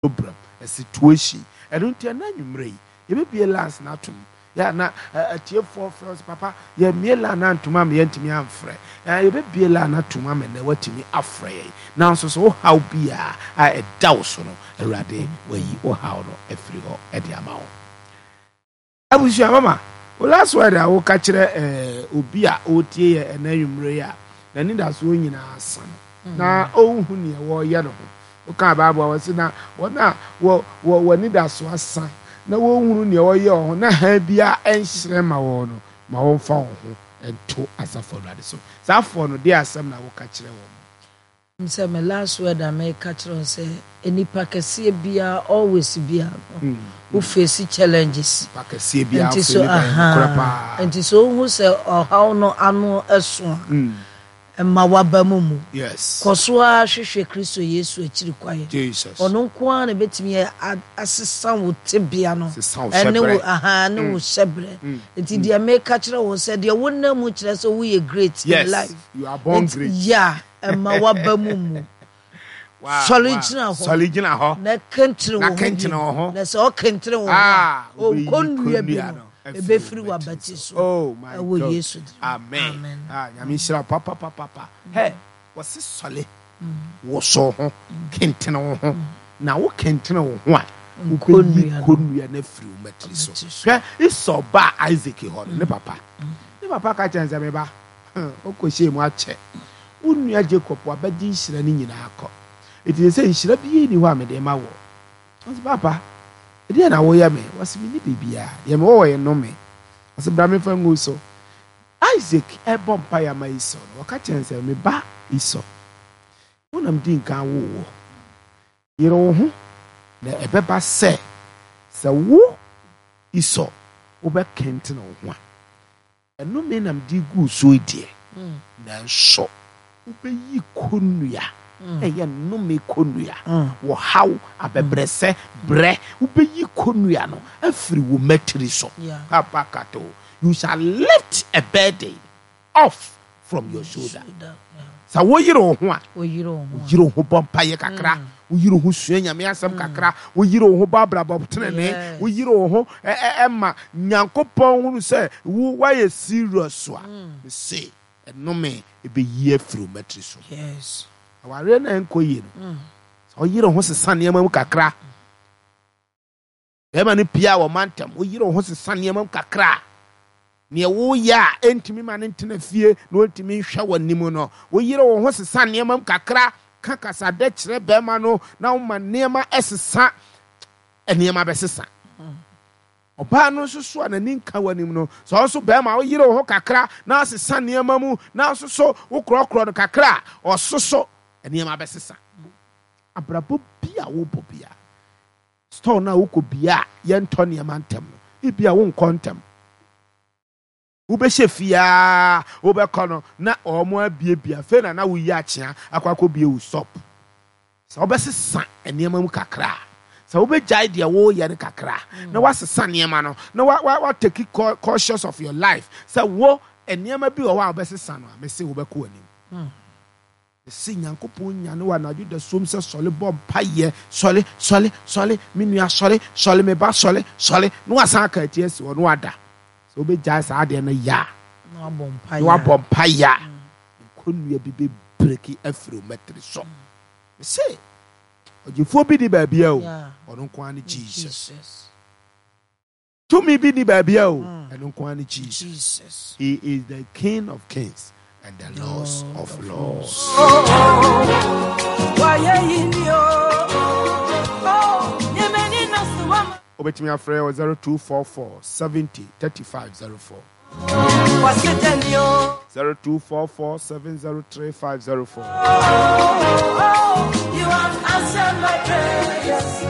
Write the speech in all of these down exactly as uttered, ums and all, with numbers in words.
Problem, a situation. Ɛno nti ɛna anwummerɛ yi yɛbɛbie lines no atom. Yɛ na atiefoɔ frɛ sɛ, "Papa, yɛmmie line no antom ama yɛntumi amfrɛ." Yɛbɛbie line no atom ama nnɛ woatumi afrɛ yɛn. Nanso sɛ wohaw biaa a ɛda wo so no, Awurade wayi wo haw no afiri hɔ ɛde ama wo. Abusua mama, wo last word a woka kyerɛ obi a ɔretie yɛ ɛna anwummerɛ yi a n'anidasoɔ nyinaa sa no na ɔnhu neɛ wɔreyɛ no ho, woka Bible a wɔse na wɔn a wɔ wɔ w'anidasoɔ asa na wɔnhunu neɛ wɔyɛ wɔ ho na han biara ɛnhyerɛn ma wɔn no, ma wɔmfa wɔn ho nto asafo Awurade so. Saa afoɔ no deɛ, asɛm na woka kyerɛ wɔn? Sɛ me last word a meka kyerɛ wo sɛ nipa kɛseɛ biara, always biara no, wo face challenges. Nipa kɛseɛ biara nti so firi ne bɛn nokorɛ aha paa. Nti sɛ wohu sɛ ɔhaw no ano ɛso a, mma waba mu mu. Yes kɔ so ara hwehwɛ Kristo Yesu akyiri kwaeɛ. Jesus. Ɔno nko ara na ɛbɛtumi a- asesa wo tebea no sesa wo ɛne wo hyɛberɛ. Aha, ne wo hyɛberɛ. Nti deɛ meka kyerɛ wo sɛ deɛ wonam mu kyerɛ sɛ woyɛ great in Yes life. You are born Nti- great. Yeah, ɛma waba mu mu. Wow, Sɔre wow. gyina hɔ. Sɔre gyina hɔ. Na kɛntene Na wo ho kɛntene bio. wo ho. Na sɛ ɔkɛntene wo ho Ah, a, ɔnkɔnnua bi wobɛyi no no afiri ɛbɛfiri wo w'abati so. Oh my ɛwɔ God. Yesu din mu. Amen. Amen. Ah, Nyame nhyira wo papapapapa. Hɛ, wɔse sɔle, woso ho, kentene wo ho, na wo kentene wo ho a, wobɛyi Nkonnua no. kɔnnua no afiri wo matiri so. Matiri so. Hwɛ, Esau ba Isaac hɔ no, ne papa ne papa ka kyerɛ no sɛ, "Meba, wokɔhyɛɛ mu akyɛ wo nua Jacob, wabɛgye nhyira no nyinaa kɔ, ɛti sɛ nhyira biara ni hɔ a mede ma wɔ." Ɔsɛ, "Papa, ɛdeɛ na woyɛ me?" Wɔse, "Menni biribiaa, deɛ mewɔ wɔ yɛ nnome." Ɔsɛ, "Bra memfa ngu so." Isaac ɛbɔ mpaeɛ ama Esau no, wɔka kyerɛ no sɛ, "Me ba Esau, wonam di nkan wowɔ yere wo ho, na ɛbɛba sɛ sɛ wo Esau wobɛkɛntene wo ho a, ɛnome nam de gu so yi deɛ, nanso wobɛyi kɔnnua, ɛyɛ nnome kɔnnua, wɔhaw abɛbrɛsɛ brɛ, wobɛyi kɔnnua no afiri wo matiri so." Yeah. Kapakato, you shall lift a burden off from your shoulder. Shoulder, yeah. Sɛ woyere wo ho a, woyere wo ho a. Woyere wo ho bɔ mpayɛ kakra, woyere wo ho sua Nyame asɛm kakra, woyere wo ho bɔ abrabɔ tenene, Yes. woyere wo ho ɛ- ɛ- ɛma Nyankopɔn hunu sɛ wo woayɛ serious a, mese ɛnome ɛbɛyi afiri wo matiri so. Yes awareɛ no ɛnkɔ yie no, sɛ woyere wo ho sesa nneɛma mu kakra, bɛrima no pia wɔ mantam, woyere wo ho sesa nneɛma mu kakra a, neɛ woyɛ a ɛntumi ma ne ntena fie na ɔntumi nhwɛ w'anim no, woyere wo ho sesa nneɛma mu kakra, ka kasadɛ kyerɛ bɛrima no na woma nneɛma ɛsesa, nneɛma bɛsesa. Ɔbaa no nso so a n'ani nka w'anim no, sɛ ɔno nso bɛrima woyere wo ho kakra na asesa nneɛma mu na nso so wokorɔkorɔ no kakra a, ɔso so nneɛma bɛsesa. Abrabɔ bi a wobɔ bia, store no a wokɔ bia a yɛntɔ nneɛma ntɛm no, ebia wonkɔ ntɛm, wobɛhyɛ fiaa, wobɛkɔ no na ɔmo abiebie, afei na na woyi akyea akɔ akɔbie wo shop. Sɛ wobɛsesa nneɛma mu kakra a, sɛ wobɛgyae deɛ woyɛ no kakra na woasesa nneɛma no na wa wa wa take cautious of your life sɛ wo nneɛma bi wɔ hɔ a wobɛsesa no a, mese wobɛkɔ w'anim. Mese Nyankopɔn nyane wɔ anadwo da som sɛ sɔle, bɔ mpayɛ, sɔle, sɔle, sɔle, me nua, sɔle, sɔle, me ba, sɔle, sɔle, na wasan aka ati asi hɔ na wada. Sɛ wobɛgyae saa adeɛ no yɛ a, na wabɔ na mpaeɛ. Wabɔ mpayɛ a, nkonnua bi bɛbreki afiri wo mɛtiri so. Mese ɔgyefoɔ bi ni baabia o. Yeah. Ɔno nko ara ne Jesus. Jesus. Tumi bi ni baabia o, ɛno nko ara ne Jesus. Jesus. He is the King of kings and the Lord of lords. Wáyé yìí ni o, yẹmẹ nínú sùwọ́n. Wobɛtumi afrɛ wɔ zero two four four seventy thirty-five zero four. Wàṣẹ ni o. zero two four four seven zero three five zero four. You have answered my prayers.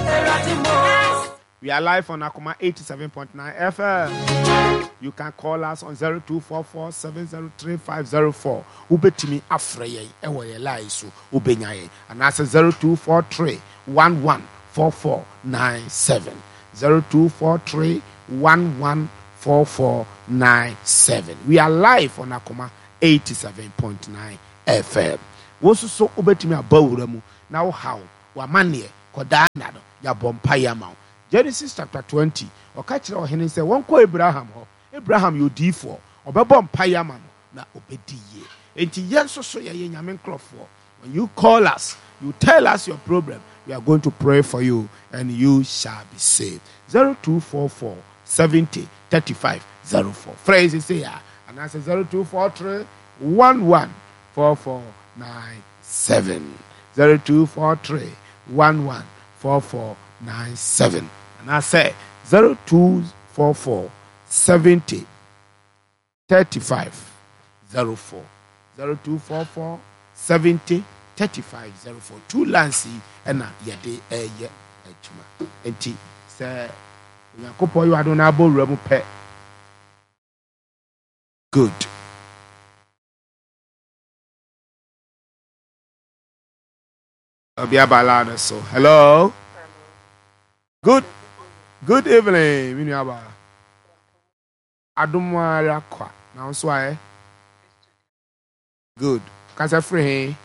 Eradi mo. We are live on Akoma eighty-seven point nine F M. You can call us on zero two four four seven zero three five zero four. Wobɛtumi afrɛ yɛn ɛwɔ yɛn line so, wobɛnya yɛn, anaasɛ zero two four three one one four four nine seven, zero two four three one one four four nine seven. We are live on Akoma eighty-seven point nine F M. Wo nso so wobɛtumi aba wura mu na wo haw w'amanneɛ. Kɔdaa nna no, yɛabɔ mpaeɛ ama wo. Genesis chapter twenty, ɔka kyerɛ ɔhene sɛ wɔnkɔ Abraham hɔ. Abraham yɛ odiyifoɔ, ɔbɛbɔ mpaeɛ ama no na ɔbɛdi yie. Enti yɛn nso so yɛyɛ Nyame nkurɔfoɔ. When you call us, you tell us your problem, we are going to pray for you and you shall be saved. zero two four four seventy thirty five zero four. Frɛ yɛn seesei a, anaasɛ zero two four three one one four four nine seven. zero two four three one one four four nine seven. Anaasɛ zero two four four seventy thirty five zero four. zero two four four seventy thirty five zero four. Two lines yi ɛna yɛde ɛyɛ adwuma. Nti sɛ Onyankopɔn yɛ adom na abɔ wura mu pɛ. Good. Obi aba line so. Hello. Good. Good evening, mi nua ba. Adom ara kwa. Na nso ayɛ. Good. Kasa firi he?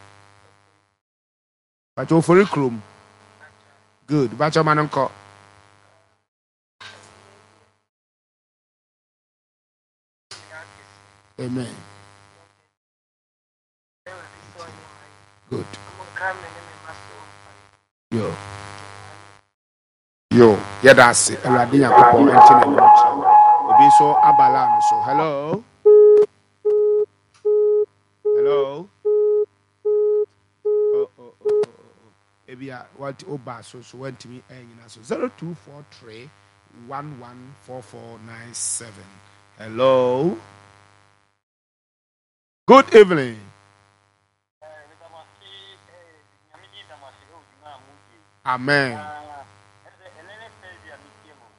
Bàtɛ ofori kurom. Good. Bàtɛ ɔma no nkɔ. Amen. Good. Yo. Yo. Yɛda ase. Awurade Nyankopɔn nkyɛn n'anim kyerɛ wo. Obi nso aba line so. Hello. Hello. Oh, oh, oh, oh, oh. Ebi a what oba so so wantumi ɛnyina so. Zero two four three one one four four nine seven. Hello. Good evening. Amen.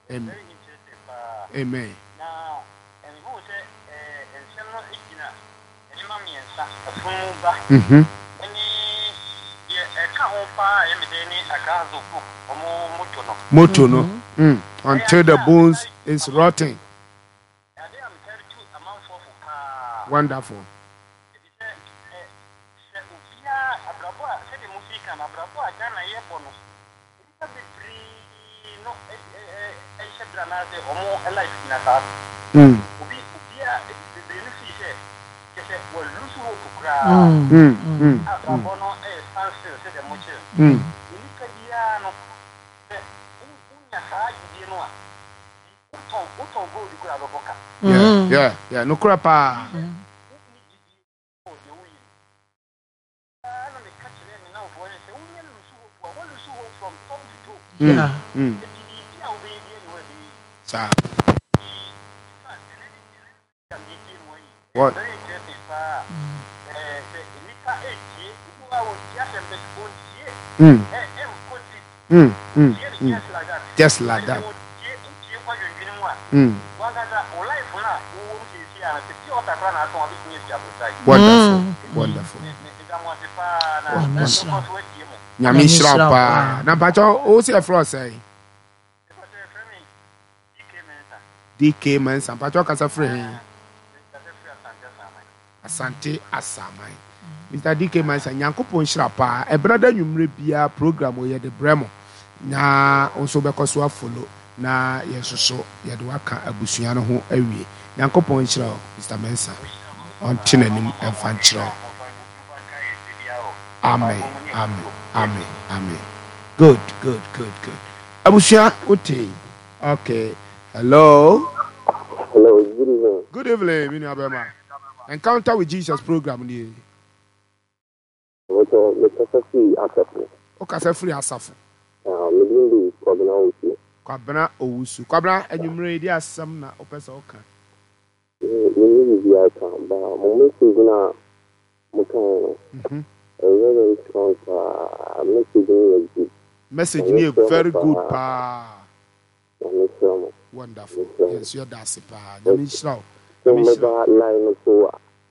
Amen. Amen. Mm-hmm. Moto no. Mm. Until the bones is rotten. Wonderful. Mm. Mm. Mm. Mm. Mm. Yeah, yeah, yeah. No crap. Ah. Yeah. Mm. Saa. What? Mm. Mm. Mm. Mm. Just like that. Mm. Wonderful. Wonderful. Wonderful. Nyame nhyira wo paa. Na mpakyɛ wo sɛ ɛfrɛ sɛn? D K Mensah. Mpakyɛ kasa firi he? Asante Asaman. Mister D K Mensah, Nyankopɔn nhyira paa. Ɛberɛ da nwummerɛ biara program wɔ yɛde brɛ mo. Na wo nso wobɛkɔ so afolo na yɛn nso so yɛde waka abusua no ho awie. Nyankopɔn nhyira wo, Mister Mensah. Ɔnte n'anim ɛmfa nkyerɛ wo. Amen. Amen. Amen. Amen. Good, good, good, good. Abusua, wote. Okay. Hello. Hello, good evening. Good evening, mi nua bɛma. Encounter with Jesus program ni. Wɔtɔ mekasa firi Asafo. Wokasa firi Asafo. Ah, me din de Kwabena Owusu. Kwabena Owusu. Kwabena, anwummerɛ yi di asɛm na wopɛ sɛ woka. Menni biribiara ka, ba mo message no a mokaeɛ no, Mhm. ɛyɛ very strong paa. Message no yɛ good. Message ni yɛ very good paa. Na mesrɛ mo. Wonderful. Mesrɛ mo. Yɛn nso yɛda ase paa. Nyame nhyira wo. Sɛ Nyame nhyira wo. mobɛba line no so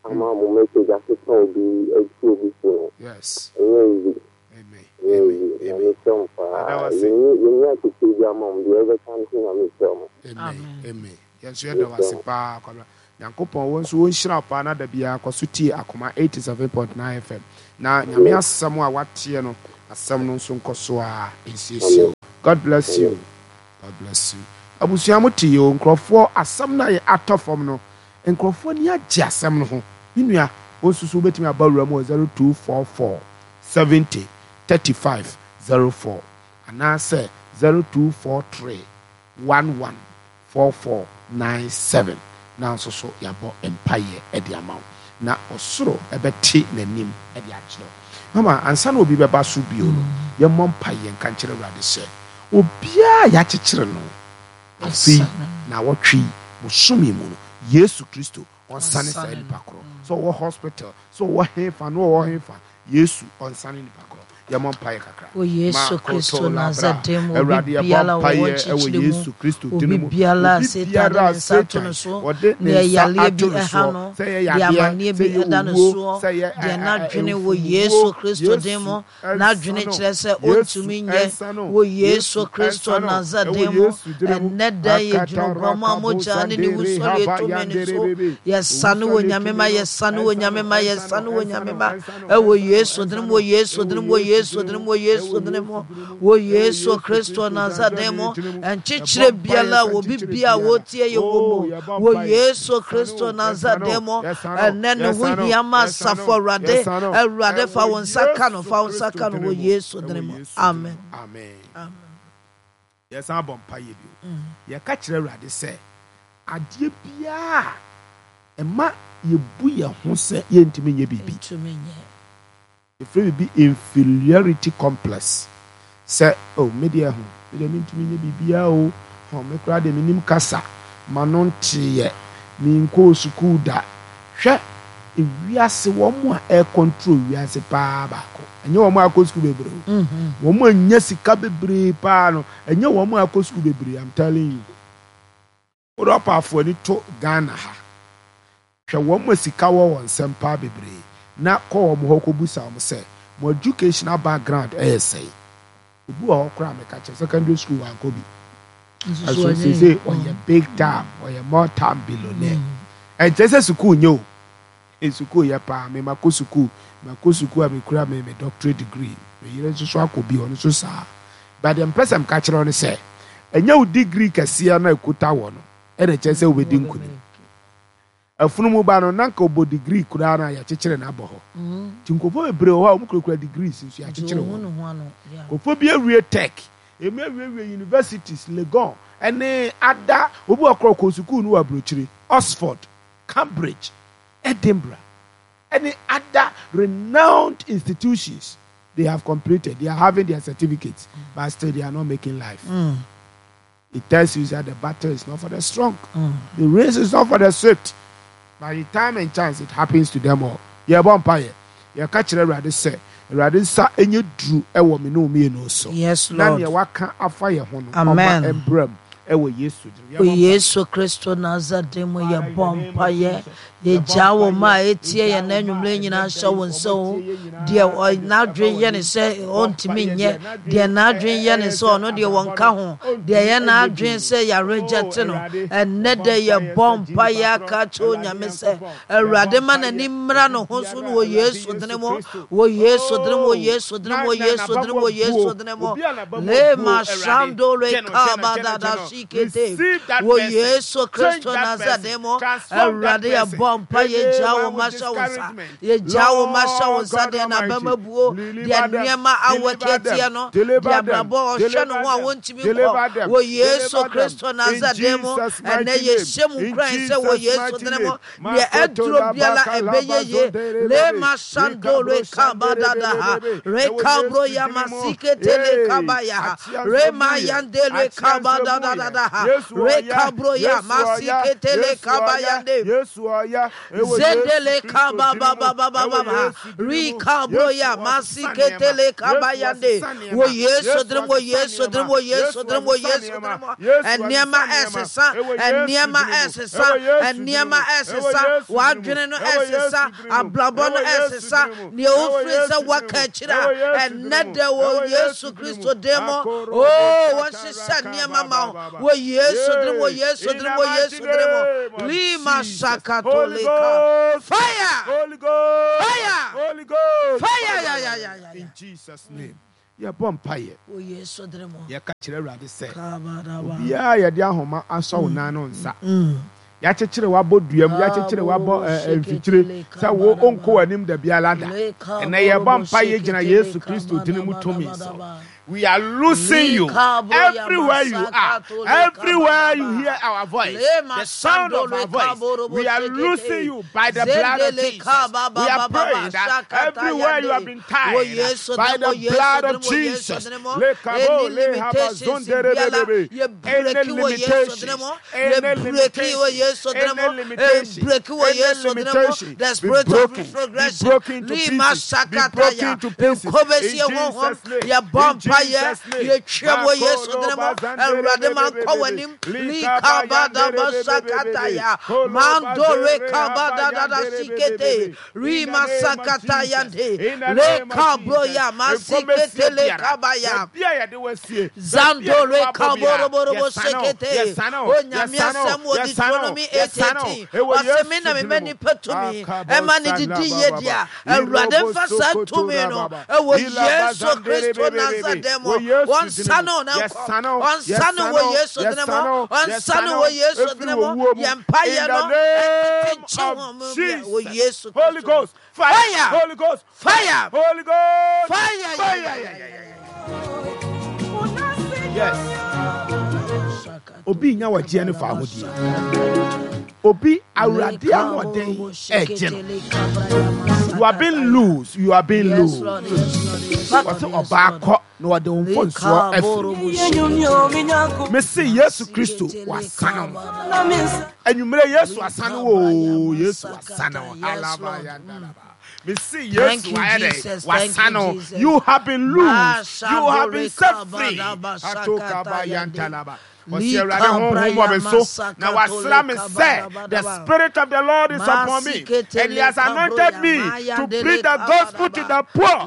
ama mo message asesa obi atu obi fo no, Yes. ɛnyɛ easy. Amen. Ɛnyɛ Amen. easy. Na Amen. mesrɛ mo paa. Yɛda wo ase. Yɛnyi yɛnyi akyekyere bi ama mo. Deɛ ɛbɛka no so Nyame nhyira mo. Amen. Amen. Amen. Yɛn nso yɛda wo ase paa, Kwabena. Nyankopɔn wo nso wɔnhyira wo paa na da biara kɔ so tie Akoma eighty-seven point nine F M. Na Nyame asɛm a wateɛ no, Asɛm no nso nkɔ so a nsiesie. God bless you. God bless you. Abusua, mo te yi o. Nkurɔfoɔ asɛm no a yɛ atɔ fam no, nkurɔfoɔ ni agye asɛm no ho. Me nua, wɔn nso so wobɛtumi aba wura mu wɔ zero two four four seventy thirty five zero four anaasɛ zero two four three one one four four nine seven, na nso so yɛabɔ mpayɛ de ama wo na ɔsoro ɛbɛte n'anim de akyerɛ wo. Mama, ansa na obi bɛba so bio no, yɛmmɔ mpayɛ nka nkyerɛ Awurade sɛ obiara yɛakyekyere no afei na wɔtwe bosome mu no, Yesu Kristo ɔnsane saa nipa korɔ. Sɛ ɔwɔ hospital, sɛ ɔwɔ hefa na ɔwɔ hefa, Yesu ɔnsane nipa korɔ. Yɛmmɔ mpaeɛ kakra. Wɔ Yesu Kristo Nasaret mu, obi biara wɔwɔ nkyekyere mu, obi biara a Satan de ne nsa ato no so, deɛ yareɛ bi ɛha no, deɛ amanneɛ bi ɛda no soɔ, deɛ n'adwene wɔ Yesu Kristo din mu, n'adwene kyerɛ sɛ ɔntumi nyɛ, wɔ Yesu Kristo Nasaret mu, ɛnnɛ da yɛgyina oguamma mogya ne ne wusɔre tumi no so, yɛsane wɔ Nyame ma, yɛsane wɔ Nyame ma, yɛsane wɔ Nyame ma, ɛwɔ Yesu din mu, wɔ Yesu din mu, wɔ Yesu din mu, wɔ Yesu din mu, wɔ Yesu Kristo Nasaret mu, nkyekyere biara wɔ bibi a wɔtie yɛ wɔ mu, wɔ Yesu Kristo Nasaret mu, ɛnɛ ne ho hia ma asafo Awurade, Awurade fa wo nsa ka no, fa wo nsa ka no wɔ Yesu din mu, amen. Amen. Yɛsan abɔ mpayɛ bio. Yɛka kyerɛ Awurade sɛ adeɛ biara ɛma yɛbu yɛn ho sɛ yɛntumi nyɛ biribi, yɛfrɛ biribi inferiority complex, sɛ oh, me deɛ ho, me deɛ mentumi nyɛ biribiara o, ho me koraa deɛ menim kasa ma no nteeɛ, menkɔɔ sukuu da. Hwɛ, ewiase wɔn a ɛcontrol wiase paa baako, ɛnyɛ wɔn a akɔ sukuu bebree o. Wɔn a nya sika bebree paa no, ɛnyɛ wɔn a akɔ sukuu bebree. I'm telling you, wode ɔpaafo ani to Ghana ha, hwɛ wɔn a sika wɔ wɔn nsɛm paa bebree na kɔ wɔn hɔ kɔbusa wɔn sɛ mo educational background ɛyɛ sɛn. Obi wɔ hɔ koraa, meka kyerɛ, secondary school wankɔ bi, ɛso sese ɔyɛ big time, ɔyɛ multi billionaire. Ɛnkyerɛ sɛ sukuu nye o. Sukuu yɛ paa. Me ma kɔ sukuu, ma kɔ sukuu a mekura me me doctorate degree, me yere nso so akɔ bi, ɔno nso saa. But deɛ mpɛ sɛ mka kyerɛ no sɛ ɛnyɛ wo degree kɛseɛ na ekuta wɔ no ɛna kyerɛ sɛ wobɛdi nkunim. Afunumu ba no na nka ɔbɔ degree koraa na yɛkyekyere no abɔ hɔ. Nti nkurɔfoɔ bebree wɔ hɔ a wɔn kurakura degrees nso yɛakyekyere wɔn. Nkurɔfoɔ bi awie tech, emi awiewie universities, Legon ɛne ada. Obi wɔ korɔ kɔ sukuu no wɔ aburokyire, Oxford, Cambridge, Edinburgh ɛne other renowned institutions. They have completed, they are having their certificates, but still they are not making life. Mm. It tells you that the battle is not for the strong, mm. the race is not for the swift. By the time and chance, it happens to them all. Yɛbɔ mpaeɛ, yɛka kyerɛ Awurade sɛ Awurade nsa nyɛ duru ɛwɔ me ne wo mmienu so. Yes, na Lord. Nea waka afa yɛ ho no, Amen. ɔma mbrɛ mu ɛwɔ Yesu din. Wɔ Yesu Kristo Nasaret mu, yɛbɔ mpaeɛ, yɛgyaa wɔ ma a ɛtie yɛn na anwummerɛ nyinaa hyɛ wo nsa o. Deɛ ɔ- n'adwene yɛ ne sɛ ɔntumi nyɛ, deɛ n'adwene yɛ ne sɛ ɔno deɛ wɔnka ho, deɛ yɛ n'adwene sɛ yɛaregye no, ɛnnɛ dɛ yɛbɔ mpaeɛ aka kyerɛ Onyame sɛ Awurade ma n'ani mmra ne ho so no wɔ Yesu dene mu, wɔ Yesu dene mu, wɔ Yesu dene mu, wɔ Yesu dene mu, wɔ Yesu dene mu. Lema shando re kaba dada sikete, wɔ Yesu Kristo Nasaret mu, Awurade, yɛbɔ mpa, yɛgya wo ma hyɛ wo nsa, yɛgya wo ma hyɛ wo nsa. Deɛ n'abɛma buo, deɛ nneɛma awɔ tiatia no, deɛ abrabɔ ɔhwɛ no ho a wɔntumi nkɔ, wɔ Yesu Kristo Nasaret mu, ɛnɛ yɛhyɛ mu nkuran sɛ wɔ Yesu dene mu, deɛ ɛduro biara ɛbɛyɛ ye. Lema shando re kaba dada ha re kabro ya masikete le kaba ya ha re ma yande le kaba dada dada ha re kabro ya masikete le kaba yande zendele kaba ba ba ba ba ba ba rikabro ya masikete le kaba yande, wɔ Yesu dene mu, wɔ Yesu dene mu, wɔ Yesu dene mu, wɔ Yesu dene mu. Nneɛma ɛsesa, nneɛma ɛsesa, nneɛma ɛsesa, w'adwene no ɛsesa, abrabɔ no ɛsesa, nea ofiri sɛ waka akyire a, ɛnnɛ dɛ wɔ Yesu Kristo din mu o, wɔhyehyɛ nneɛma ma wo wɔ Yesu dene mu, wɔ Yesu dene mu, wɔ Yesu dene mu. Lima sakatolika, fire. Holy Ghost. Fire. Holy Ghost. Fire, ya ya ya ya. In Jesus' name. Yɛbɔ mpaeɛ. Wɔ Yesu din mu. Yɛka kyerɛ Awurade sɛ, Kabadaba. obiara yɛde ahoma asɔ wo nan no nsa. Yɛakyekyere wabɔ dua mu, yɛakyekyere wabɔ ɛ, ɛ, mfikyire sɛ wo ɔnkɔ w'anim da biara da. Ɛnɛ yɛbɔ mpaeɛ gyina Yesu Kristo din mu tumi so. We are loosing you everywhere you are, everywhere you hear our voice, the sound of our voice. We are loosing you by the blood of Jesus. We are praying that everywhere you have been tied by the blood of Jesus. Lekabo, lehabazonderebebebe. Any limitations, any limitations, any limitation, any limitation, The be spirit of broken, be retrogression. broken to Lima pieces, be sakataya. broken to pieces. Nkobesie In honhom. Jesus' name, Yɛbɔ in mpaeɛ. Jesus' name. Yɛtwa wɔ Yesu Makolo din mu. Awurade ma nkɔ w'anim. Likabadaba sakataya. Mandore kabadadada sikete. Rima sakataya nde. Lekabroya masikete lekabaya. Zandore kaboroborobo sekete. Onyame asɛm wɔ Deuteronomy eight eighteen. Ɔsɛ me na mema nipa tumi. Ɛma ne didi yie di a. Awurade mfa saa tumi no ɛwɔ Yesu Kristo Nasaret mu. Wɔnsa no na nkɔ. Ɔnsa no wɔ Yesu din mu. Ɔnsa no wɔ Yesu din mu. Yɛn mpaeɛ no ɛtete nkyi wɔn mu bia wɔ Yesu Holy Kristo mu. Ghost, fire, Fire! Holy Ghost, Fire! Holy Ghost, Fire! Yeah, fire, yeah, yeah, yeah, yeah, yeah, yeah. yeah. Yes. Obi nya wagye ne fa ahodie. Obi Awurade ahoɔden ɛgye no. You are being loose. You are being Yes, loose. Lord. Yes, Lord. Yes, Lord. Wɔsɛ Yes, ɔbaa Lord. kɔ na wɔde wo mfonsoɔ afiri. Mese Yesu Kristo wasane wo. Anwummerɛ Yesu asane wo o, Yesu asane wo. Yes, Lord. Alaba Mese Thank Yesu you, wayɛ dɛ Jesus. Thank wasane you, wo. Jesus. You have been loose. You have been set free. Atokaba yantalaba. Ɔsi Awurade honhom wɔ me so na wasra me sɛ the spirit of the Lord is upon me and he has anointed me to preach the gospel to the poor.